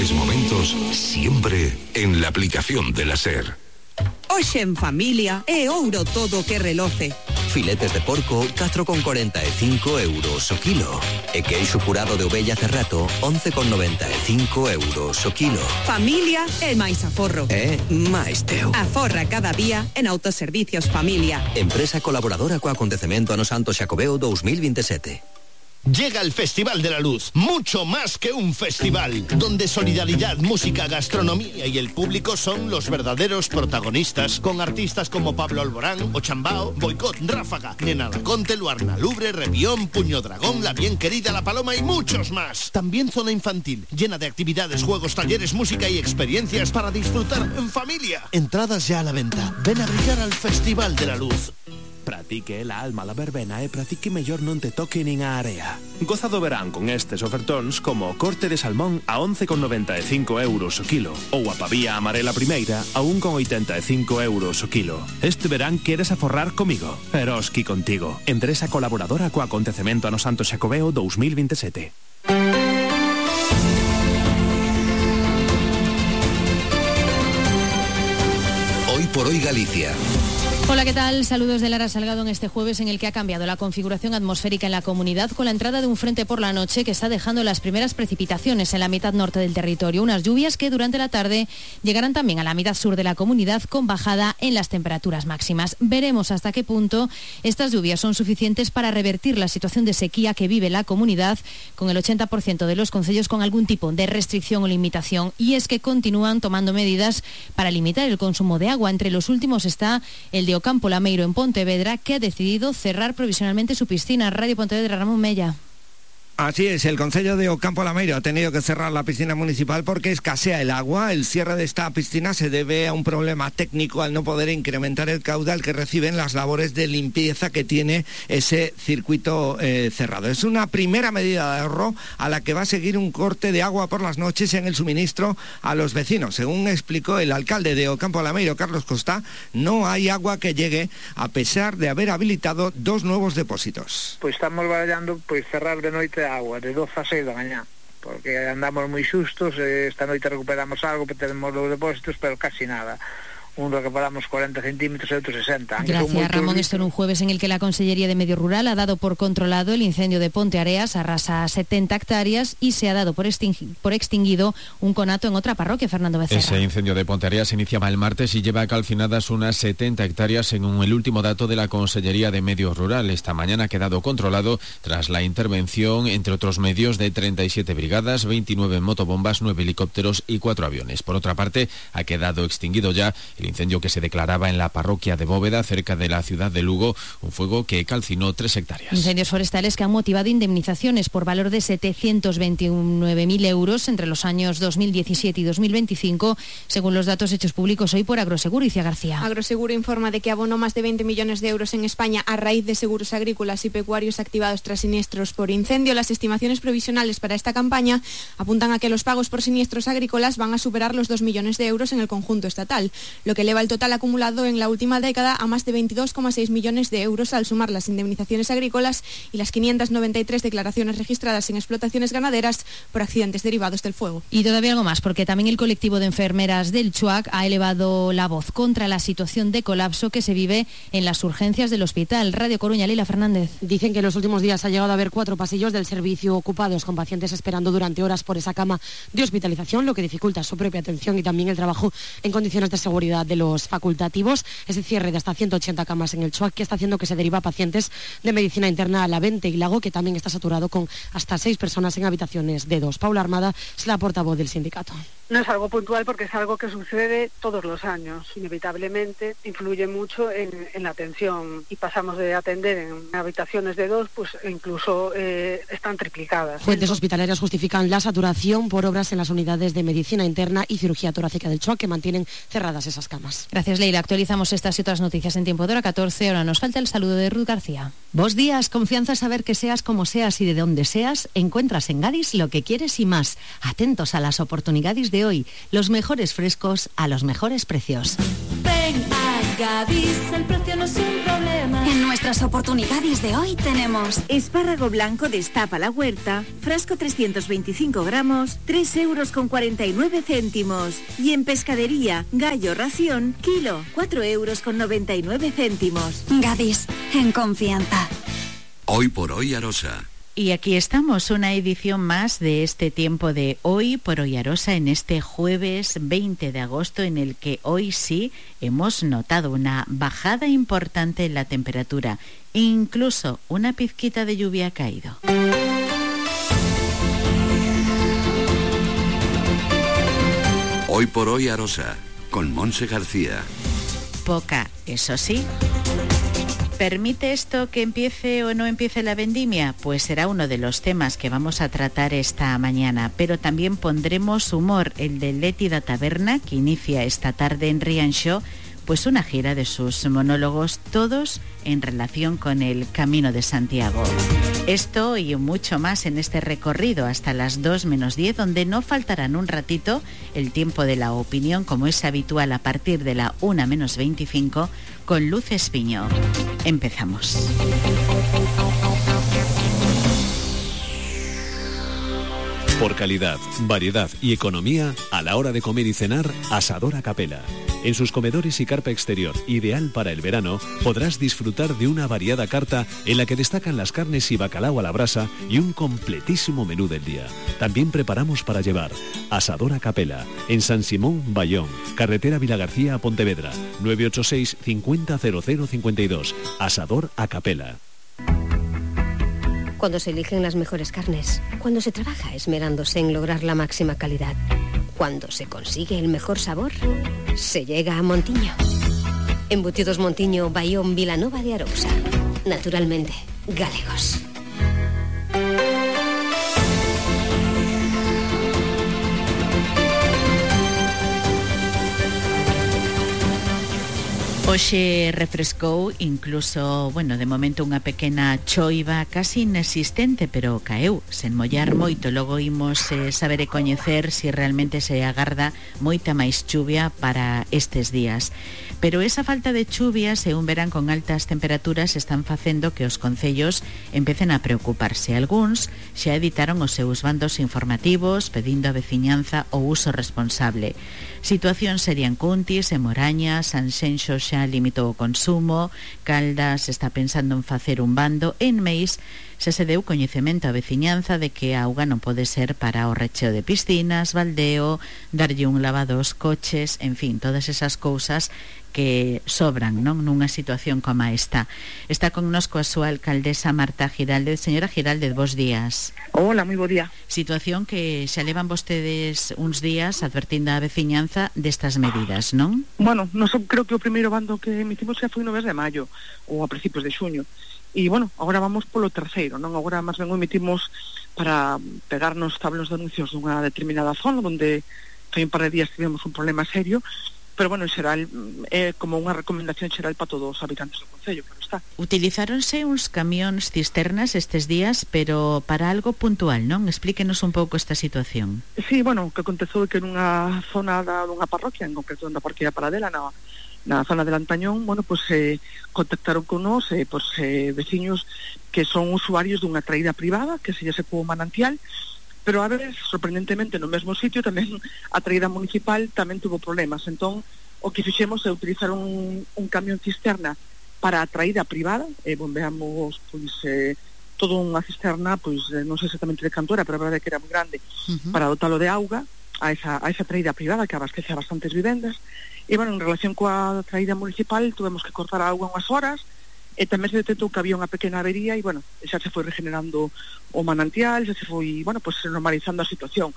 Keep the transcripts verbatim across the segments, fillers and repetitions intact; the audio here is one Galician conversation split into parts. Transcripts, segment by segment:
mejores momentos siempre en la aplicación de la SER. Hoxe en familia é ouro todo que reloce. Filetes de porco, catro con corenta e cinco euros o kilo. E queixo curado de ovella Cerrato, once con noventa e cinco euros o kilo. Familia é máis aforro. É máis teu. Aforra cada día en Autoservicios Familia. Empresa colaboradora co acontecemento ano Santo Xacobeo dos mil veintisiete. Llega el Festival de la Luz, mucho más que un festival, donde solidaridad, música, gastronomía y el público son los verdaderos protagonistas, con artistas como Pablo Alborán, Ochambao, Boicot, Ráfaga, Nena Laconte, Luarna Lubre, Revión, Puño Dragón, La Bien Querida, La Paloma y muchos más. También zona infantil, llena de actividades, juegos, talleres, música y experiencias para disfrutar en familia. Entradas ya a la venta. Ven a brillar al Festival de la Luz. Pratique la alma la verbena e pratique mellor non te toque nin a area. Goza do verán con estes ofertóns como o corte de salmón a once con noventa e cinco euros o kilo ou a pavía amarela primeira a un con oitenta e cinco euros o kilo. Este verán queres aforrar comigo? Eroski contigo. Empresa colaboradora co acontecemento ano Santo Xacobeo dos mil veintisiete. Hoy por hoy Galicia. Hola, ¿qué tal? Saludos de Lara Salgado en este jueves en el que ha cambiado la configuración atmosférica en la comunidad con la entrada de un frente por la noche que está dejando las primeras precipitaciones en la mitad norte del territorio. Unas lluvias que durante la tarde llegarán también a la mitad sur de la comunidad con bajada en las temperaturas máximas. Veremos hasta qué punto estas lluvias son suficientes para revertir la situación de sequía que vive la comunidad, con el ochenta por ciento de los concellos con algún tipo de restricción o limitación. Y es que continúan tomando medidas para limitar el consumo de agua. Entre los últimos está el de Ocampo Lameiro en Pontevedra, que ha decidido cerrar provisionalmente su piscina. Radio Pontevedra, Ramón Mella. Así es, el concello de Ocampo Lameiro ha tenido que cerrar la piscina municipal porque escasea el agua. El cierre de esta piscina se debe a un problema técnico al no poder incrementar el caudal que reciben las labores de limpieza que tiene ese circuito eh, cerrado. Es una primera medida de ahorro a la que va a seguir un corte de agua por las noches en el suministro a los vecinos. Según explicó el alcalde de Ocampo Lameiro, Carlos Costa, no hay agua que llegue a pesar de haber habilitado dos nuevos depósitos. Pues estamos barallando pues cerrar de noite agua de doce a seis da mañá, porque andamos moi xustos. Esta noite recuperamos algo, tenemos los depósitos, pero casi nada. Un recuperamos cuarenta centímetros y otro sesenta. Gracias, Ramón. Esto en un jueves en el que la Consellería de Medio Rural ha dado por controlado el incendio de Ponte Areas, arrasa setenta hectáreas, y se ha dado por, extingui- por extinguido un conato en otra parroquia, Fernando Becerra. Ese incendio de Ponte Areas iniciaba el martes y lleva calcinadas unas setenta hectáreas según el último dato de la Consellería de Medio Rural. Esta mañana ha quedado controlado tras la intervención, entre otros medios, de treinta y siete brigadas, veintinueve motobombas, nueve helicópteros y cuatro aviones. Por otra parte, ha quedado extinguido ya el incendio que se declaraba en la parroquia de Bóveda, cerca de la ciudad de Lugo, un fuego que calcinó tres hectáreas. Incendios forestales que han motivado indemnizaciones por valor de setecientos veintinueve mil euros entre los años dos mil diecisiete y dos mil veinticinco, según los datos hechos públicos hoy por Agroseguro. Iciar García. Agroseguro informa de que abonó más de veinte millones de euros en España a raíz de seguros agrícolas y pecuarios activados tras siniestros por incendio. Las estimaciones provisionales para esta campaña apuntan a que los pagos por siniestros agrícolas van a superar los dos millones de euros en el conjunto estatal, lo que eleva el total acumulado en la última década a más de veintidós coma seis millones de euros al sumar las indemnizaciones agrícolas y las quinientas noventa y tres declaraciones registradas en explotaciones ganaderas por accidentes derivados del fuego. Y todavía algo más, porque también el colectivo de enfermeras del Chuac ha elevado la voz contra la situación de colapso que se vive en las urgencias del hospital. Radio Coruña, Lila Fernández. Dicen que en los últimos días ha llegado a haber cuatro pasillos del servicio ocupados con pacientes esperando durante horas por esa cama de hospitalización, lo que dificulta su propia atención y también el trabajo en condiciones de seguridad de los facultativos. Ese cierre de hasta ciento ochenta camas en el Chuac que está haciendo que se deriva a pacientes de medicina interna a la Vente y Lago, que también está saturado con hasta seis personas en habitaciones de dos. Paula Armada es la portavoz del sindicato. No es algo puntual porque es algo que sucede todos los años. Inevitablemente influye mucho en, en la atención y pasamos de atender en habitaciones de dos, pues incluso eh, están triplicadas. Fuentes hospitalarias justifican la saturación por obras en las unidades de medicina interna y cirugía torácica del Chuac, que mantienen cerradas esas camas. Gracias, Leila. Actualizamos estas y otras noticias en tiempo de hora catorce. Ahora nos falta el saludo de Ruth García. Vos días, confianza, saber que seas como seas y de donde seas, encuentras en Gadis lo que quieres y más. Atentos a las oportunidades de hoy, los mejores frescos a los mejores precios. Ven a Gadis, el precio no es un problema. En nuestras oportunidades de hoy tenemos espárrago blanco destapa la huerta, frasco trescientos veinticinco gramos, tres euros con cuarenta y nueve céntimos. Y en pescadería, gallo ración, kilo, cuatro euros con noventa y nueve céntimos. Gadis, en confianza. Hoy por hoy Arosa. Y aquí estamos, una edición más de este tiempo de Hoy por Hoy Arosa en este jueves veinte de agosto, en el que hoy sí hemos notado una bajada importante en la temperatura. Incluso una pizquita de lluvia ha caído. Hoy por Hoy Arosa, con Monse García. Poca, eso sí. ¿Permite esto que empiece o no empiece la vendimia? Pues será uno de los temas que vamos a tratar esta mañana, pero también pondremos humor, el de Leti da Taberna, que inicia esta tarde en Rianxo, pues una gira de sus monólogos, todos en relación con el Camino de Santiago. Esto y mucho más en este recorrido hasta las dos menos diez, donde no faltarán un ratito el tiempo de la opinión, como es habitual a partir de la una menos veinticinco, con Luz Espiño. Empezamos. Por calidad, variedad y economía, a la hora de comer y cenar, Asador a Capela. En sus comedores y carpa exterior, ideal para el verano, podrás disfrutar de una variada carta en la que destacan las carnes y bacalao a la brasa y un completísimo menú del día. También preparamos para llevar. Asador a Capela, en San Simón, Bayón, carretera Vilagarcía a Pontevedra, nueve ocho seis, cincuenta, cero cero cincuenta y dos. Asador a Capela. Cuando se eligen las mejores carnes, cuando se trabaja esmerándose en lograr la máxima calidad, cuando se consigue el mejor sabor, se llega a Montiño. Embutidos Montiño, Bayón, Vilanova de Arousa. Naturalmente, galegos. Hoxe refrescou, incluso, bueno, de momento unha pequena choiva casi inexistente, pero caeu, sen mollar moito. Logo imos eh, saber e coñecer se si realmente se agarda moita máis chuvia para estes días. Pero esa falta de chuvias e un verán con altas temperaturas están facendo que os concellos empecen a preocuparse. Algúns xa editaron os seus bandos informativos pedindo a veciñanza o uso responsable. Situación sería en Cuntis, en Moraña, Sanxenxo xa limitou o consumo, Caldas está pensando en facer un bando, en Meis xa se deu coñecemento á veciñanza de que a auga non pode ser para o recheo de piscinas, baldeo, darlle un lavado aos coches, en fin, todas esas cousas que sobran, non, nunha situación como esta. Está connosco a súa alcaldesa Marta Giraldez. Señora Giraldez, bos días. Hola, moi bo día. Situación que xa levan vostedes uns días advertindo á veciñanza destas medidas, non? Bueno, non creo que o primeiro bando que emitimos xa foi no mes de maio ou a principios de xuño. E, bueno, agora vamos polo terceiro, non? Agora máis ben o emitimos para pegarnos tablos de anuncios dunha determinada zona onde foi un par de días tivemos un problema serio, pero, bueno, en xeral é como unha recomendación xeral para todos os habitantes do concello, claro está. Utilizáronse uns camións cisternas estes días, pero para algo puntual, non? Explíquenos un pouco esta situación. Sí, bueno, o que aconteceu é que nunha zona da, dunha parroquia, en concreto da parroquia Paradela, na, na zona de Lantañón, bueno, pues eh, contactaron con nos eh, pues, eh, veciños que son usuarios dunha traída privada, que se lle secou o manantial, pero a ver, sorprendentemente no mesmo sitio tamén a traída municipal tamén tuvo problemas. Entón, o que fixemos é utilizar un, un camión cisterna para a traída privada, e bombeamos pois eh, todo unha cisterna, pois eh, non sei exactamente de canto era, pero a verdade é que era moi grande, uh-huh. para dotalo de auga a esa, a esa traída privada que abastece a bastantes vivendas. E, bueno, en relación coa traída municipal tuvemos que cortar a auga unhas horas, e tamén se detectou que había unha pequena avería e, bueno, xa se foi regenerando o manantial, xa se foi, bueno, pues normalizando a situación.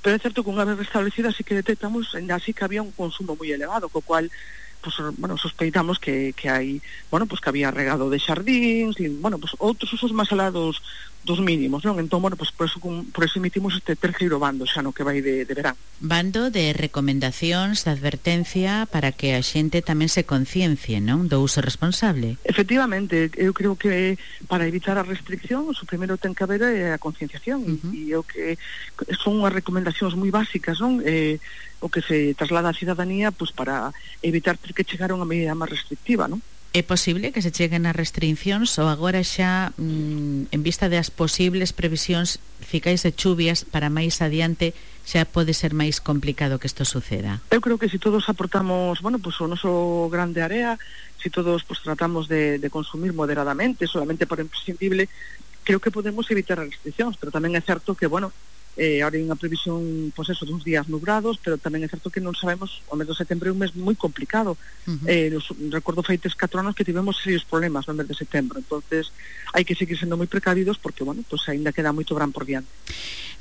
Pero é certo que unha vez restablecida sí que detectamos, ainda así que había un consumo moi elevado, co cual, pues, bueno, sospeitamos que, que hai, bueno, pues que había regado de xardíns, e, bueno, pues outros usos máis alados dos mínimos, non? Entón, bueno, pues por eso, por eso emitimos este terceiro bando xa no que vai de, de verán. Bando de recomendacións, de advertencia para que a xente tamén se conciencie, non? Do uso responsable. Efectivamente, eu creo que para evitar a restricción, o primeiro ten que haber é a concienciación, uh-huh. e eu que son unhas recomendacións moi básicas, non? Eh, o que se traslada á cidadanía pues, para evitar ter que chegar a unha medida máis restrictiva, non? É posible que se cheguen as restriccións ou agora xa, mm, en vista das posibles previsións ficais de chuvias para máis adiante, xa pode ser máis complicado que isto suceda? Eu creo que se todos aportamos, bueno, pues o noso grande área, se todos pues, tratamos de, de consumir moderadamente, solamente por imprescindible, creo que podemos evitar as restriccións, pero tamén é certo que, bueno, Eh, ahora hai unha previsión, pois eso, duns días nubrados, pero tamén é certo que non sabemos, o mes de setembro é un mes moi complicado. Uh-huh. eh, los, recordo feites catro anos que tivemos serios problemas no mes de setembro, entonces hai que seguir sendo moi precavidos porque, bueno, pues ainda queda moito gran por diante.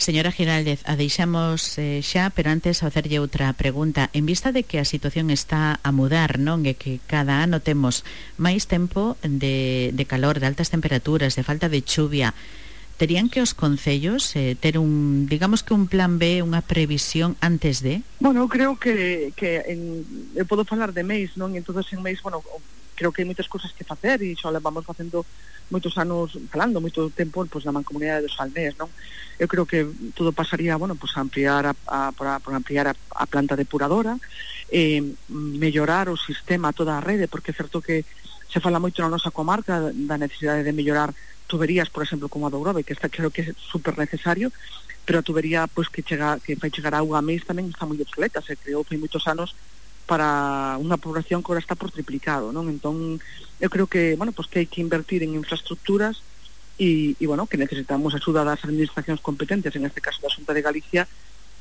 Señora Giraldez, a deixamos eh, xa, pero antes a facerlle outra pregunta. En vista de que a situación está a mudar, non? E que cada ano temos máis tempo de, de calor, de altas temperaturas, de falta de chuvia, terían que os concellos eh, ter un, digamos que un plan B, unha previsión antes de? Bueno, eu creo que, que en, eu podo falar de Meis, non? E entonces en Meis, bueno, creo que hai moitas cousas que facer e xa vamos facendo moitos anos falando, moito tempo pues, na mancomunidade dos Salnés, non? Eu creo que todo pasaría, bueno, pues ampliar a, a, por, a, por ampliar a, a planta depuradora, eh, mellorar o sistema, toda a rede, porque é certo que se fala moito na nosa comarca da necesidade de mellorar tuberías, por exemplo, como a do Grove, que está, creo que é super necesario, pero a tubería pues, que chega que fai chegar a auga a Meis tamén está moi obsoleta, se creou hai moitos anos para unha población que agora está por triplicado, non? Entón, eu creo que, bueno, pues que hai que invertir en infraestructuras e, e bueno, que necesitamos axuda das administracións competentes, en este caso da Xunta de Galicia,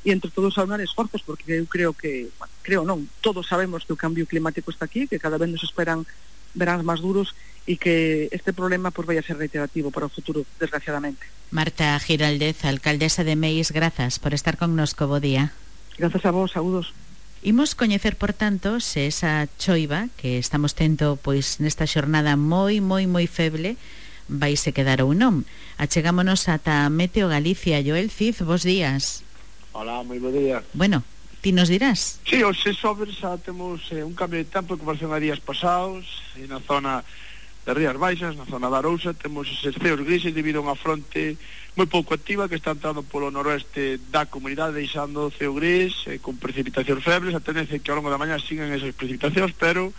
e entre todos aunar esforzos, porque eu creo que, bueno, creo non, todos sabemos que o cambio climático está aquí, que cada vez nos esperan veráns máis duros e que este problema pues, vai a ser reiterativo para o futuro, desgraciadamente. Marta Giraldez, alcaldesa de Meis, grazas por estar connosco, bo día. Grazas a vos, saúdos. Imos coñecer, por tanto, se esa choiva que estamos tendo pois nesta xornada moi, moi, moi feble vai se quedar ou non. Achegámonos ata Meteo Galicia. Joel Cid, bos días. Hola, moi bo día. Bueno, ti nos dirás? Sí, hoxe sobre xa temos eh, un cambio de tempo en comparación a días pasados, e na zona de Rías Baixas, na zona da Arousa, temos eses ceos grises debido a unha fronte moi pouco activa que está entrando polo noroeste da comunidade, deixando o ceo gris eh, con precipitacións febles. A tendencia é que ao longo da mañá sigan esas precipitacións, pero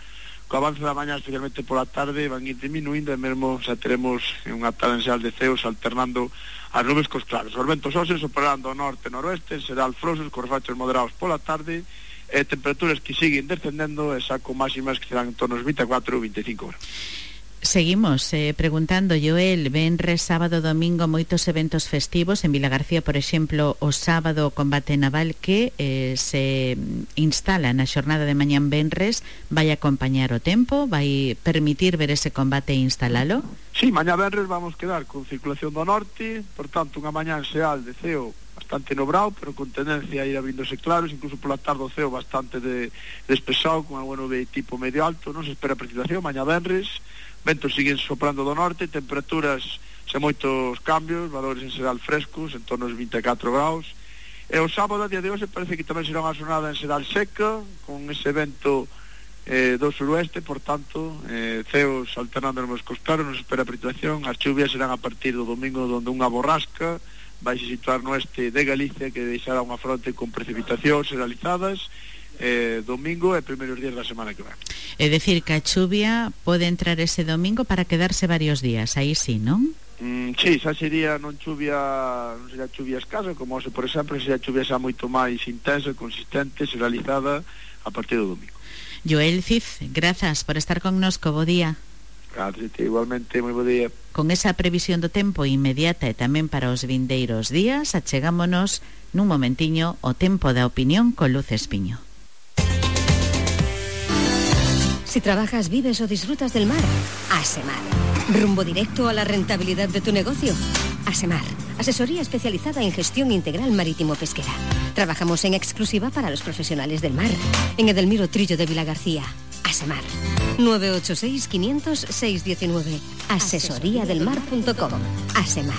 co avance da mañá, especialmente pola tarde, van ir diminuindo e mesmo xa teremos unha talensial de ceos alternando as nubes cos claros. Os ventos óseos operando ao norte e noroeste, en xeral frouxos, cos rachos moderados pola tarde, e temperaturas que siguen descendendo, e xa con máximas que serán en torno aos vinte e catro ou vinte e cinco graus. Seguimos eh, preguntando, Joel, venres, sábado, domingo, moitos eventos festivos. En Vilagarcía, por exemplo, o sábado o combate naval que eh, se instala na xornada de mañán venres, vai acompañar o tempo, vai permitir ver ese combate e instalalo? Sí, mañá venres vamos quedar con circulación do norte, por tanto, unha mañán xeal de ceo bastante nobrao, pero con tendencia a ir abrindose claros, incluso pola tarde o ceo bastante de, despexado, con algo nube tipo medio alto. Non se espera precipitación mañá venres, ventos siguen soprando do norte, temperaturas sen moitos cambios, valores en xeral frescos, en torno aos vinte e catro graus. E o sábado, a día de hoxe, parece que tamén será unha xornada en xeral seca, con ese vento eh, do suroeste, por tanto, eh, ceos alternando nos cos claros, non se espera precipitación. As chuvias serán a partir do domingo, donde unha borrasca vai se situar no este de Galicia, que deixará unha fronte con precipitacións generalizadas, eh, domingo e primeiros días da semana que ven. É dicir, que a chuvia pode entrar ese domingo para quedarse varios días, aí sí, non? Mm, sí, xa sería non chuvia, non sería chuvia escasa, como se, por exemplo, sería chuvia xa moito máis intensa, consistente, realizada a partir do domingo. Joel Cid, grazas por estar connosco, bo día. Gracias, igualmente, moi bo día. Con esa previsión do tempo inmediata e tamén para os vindeiros días, achegámonos nun momentiño o tempo da opinión con Luz Espiño. Si trabajas, vives o disfrutas del mar, Asemar. Rumbo directo a la rentabilidad de tu negocio. Asemar, asesoría especializada en gestión integral marítimo-pesquera. Trabajamos en exclusiva para los profesionales del mar. En Edelmiro Trillo de Vilagarcía. Asemar. nueve ocho seis, quinientos, seiscientos diecinueve. asesoría del mar punto com. Asemar.